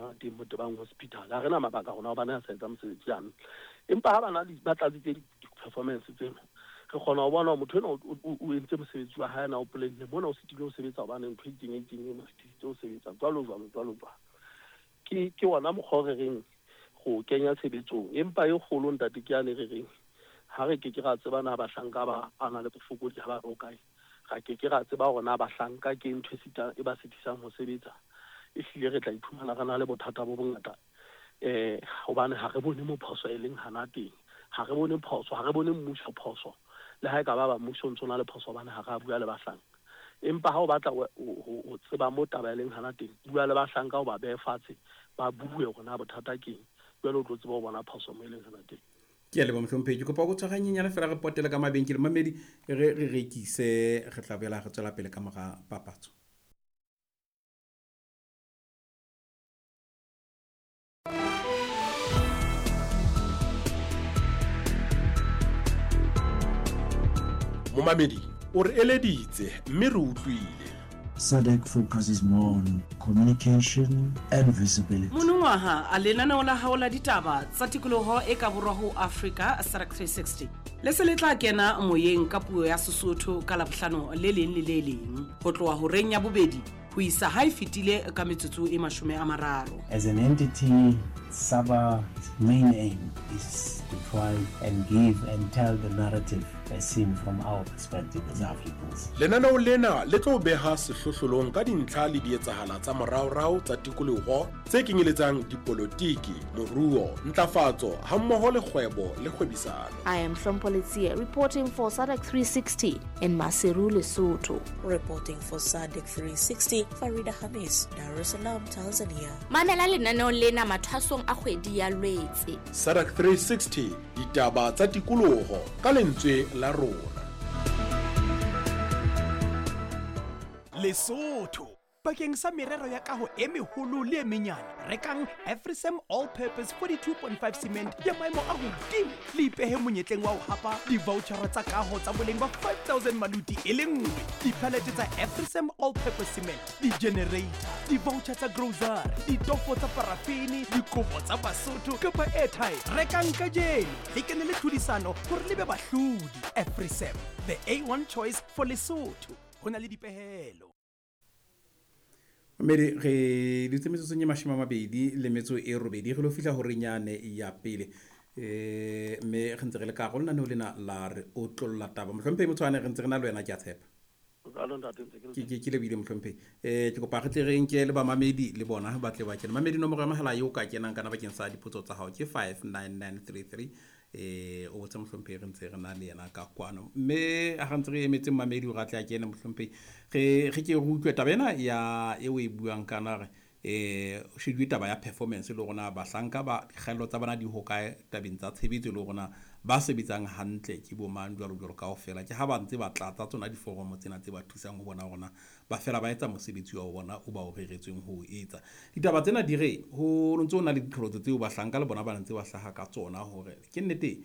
hana teng Motebang Hospital. Ha re na mabaka rona hobane a sa etsa mosebetsi hantle. Empa ha bana ba tlatsitse di-performance tseno, re kgona ho bona hore motho enwa o entse mosebetsi wa hae na o planne mona, o sitilwe ho sebetsa hobane ntho e itseng e itseng e mo sitisitse ho sebetsa, jwalo jwalo jwalo jwalo. Ke ona mokgwa o re reng go kenya tshebetsong. Empa e kgolo, ntate, ke yane re reng ha re ke ke ra tseba na bahlanka ba a na le bofokodi ha ba re o kae, ra ke ke ra tseba hore na bahlanka ke ntho e ba sitisang ho sebetsa. Ehlile re tla iphumana re na le bothata bo bongata, hobane ha re bone mo phoso e leng hana teng. Ha re bone phoso, ha re bone mmuso phoso, le ha e ka ba ba mmuso o ntso na le phoso, hobane ha re a bua le bahlanka. Empa ha o batla ho tseba mo taba e leng hana teng, bua le bahlanka, o ba behe fatshe, ba bue hore na bothata keng, jwale o tlo tseba ho bona phoso mo e leng hana teng. Ke a leboha, mohlomphehi. Ke kopa go tshwaganyenyana fela, re potele ka mabenkele, mamedi, re rekise, re tla boela re tswela pele ka mora papatso. Momamedi o re eleditse mme re utlwile. SADC focuses more on communication and visibility. Monongwaha, lenaneo la hao la ditaba tsa tikoloho e ka borwa ho Afrika, SADC 360, le se le tla kena moyeng ka puo ya Sesotho ka Labohlano le leng le le leng ho tloha horeng ya bobedi ho isa ha e fetile ka metsotso e 30. As an entity, SABA's main aim is to try and give and tell the narrative as seen from our perspective as Africans. Lenaneo lena le tlo beha sehlohlolong ka dintlha le dietsahala tsa moraorao tsa tikoloho tse kenyeletsang dipolotiki, moruo, ntlafatso hammoho le kgwebo le kgwebisano. I am Hlompho Letsie, reporting for SADC 360 in Maseru, Lesotho. Reporting for SADC 360, Farida Hamis, Dar es Salaam, Tanzania. Mamela lenaneo lena mathwasong a kgwedi ya Lwetse. SADC 360, ditaba tsa tikoloho ka lentswe la rona. Lesotho, bakeng sa merero ya kaho e meholo le e menyane, rekang Afrisam All Purpose 42.5 cement ya maemo a hodimo, le ipehe monyetleng wa ho hapa di-vouchera tsa kaho tsa boleng ba 5000 maluti e le nngwe, diphalete tsa Afrisam All Purpose cement, di-generator, di-voucher tsa grocery, ditofo tsa parafini, dikobo tsa Basotho kapa airtime. Rekang kajeno, le kene le tlhodisano hore le be bahlodi. Afrisam, the A1 choice for Lesotho. Ho na le dipehelo. Mmedi, re dutse metsotsong e 28, re lo fihla horeng yane ya pele, mme re ntse re le ka go lenaneo lena la Re Otlolla Taba. Mohlomphehi Motshwane, re ntse re na le wena, ke a tshepa. Jwalo, ntate, ntse ke le Ke lebohile, mohlomphehi. Ke kopa re tle re nke le bamamedi, le bona ba tle ba kene. Mamedi, nomoro ya mohala eo ka kenang kana bakeng sa dipotso tsa hao ke 59933, o botse mohlomphehi, re ntse re na le yena ka kwano. Mme ha re ntse re emetse mamedi hore a tle a kene, mohlomphehi, re ke re utlwe taba ena ya eo e buang kana re o sheduwe taba ya performance, le rona bahlanka ba dikgaello tsa bona di hokae tabeng tsa tshebetso, le rona ba sebetsang hantle ke bo mang, jwalo jwalo kaofela. Ke ha ba ntse ba tlatsa tsona diforomo tsena tse ba thusang ho bona rona ba fela ba etsa mosebetsi wa bona o ba o reretsweng ho o etsa. Ditaba tsena di re ho ntse ho na le diqholotso tseo bahlanka le bona ba ntse ba hlaha ka tsona, hore ke nnete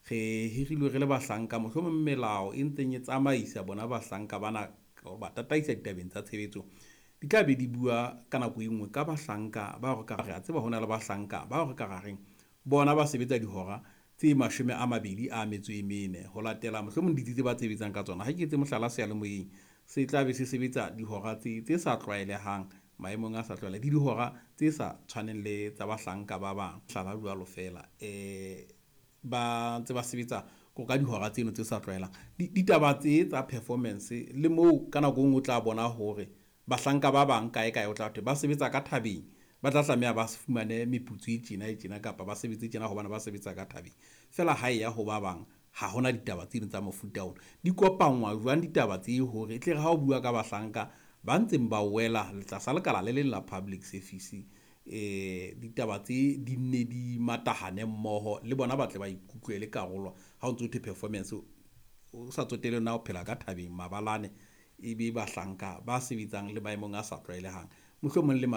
re hirilwe re le bahlanka, mohlomong melao e ntseng e tsamaisa bona bahlanka bana ba tataisa ditabeng tsa tshebetso di tla be di bua ka nako e nngwe ka bahlanka ba re ka re a tseba ho na le bahlanka ba re ka rareng bona ba sebetsa dihora tse 24 ho latela mohlomong ditsi tse ba sebetsang ka tsona. Ha ke etse mohlala, seyalemoyeng se tla be se sebetsa dihora tse sa tlwaelehang, maemong a sa tlwaelehang, le dihora tse sa tshwaneng le tsa bahlanka ba bang, hlala jwalo fela, ba ntse ba sebetsa ko ka dihora tseno tse sa tlwaelang. Ditaba tse tsa performance le moo ka nako e nngwe o tla bona hore bahlanka ba bang kae kae o tla thwe ba sebetsa ka thabeng, ba tla tlameha ba fumane meputso e tjena e tjena kapa ba sebetse tjena hobane ba sebetsa ka thabeng. Fela ha e ya ho ba bang, ha hona ditaba tseno tsa mofuta ona. Di kopanngwa jwang ditaba tse hore e tle re ha o bua ka bahlanka ba ntseng ba wela tlasa lekala le leng la public service, ditaba tse di nne di matahane mmoho, le bona ba tle ba ikutlwe le karolo ha o ntso thwe performance, o sa tsotelle na o phela ka thabeng mabalane, e be bahlanka ba sebetsang le maemong a sa tlwaelehang, mohlomong le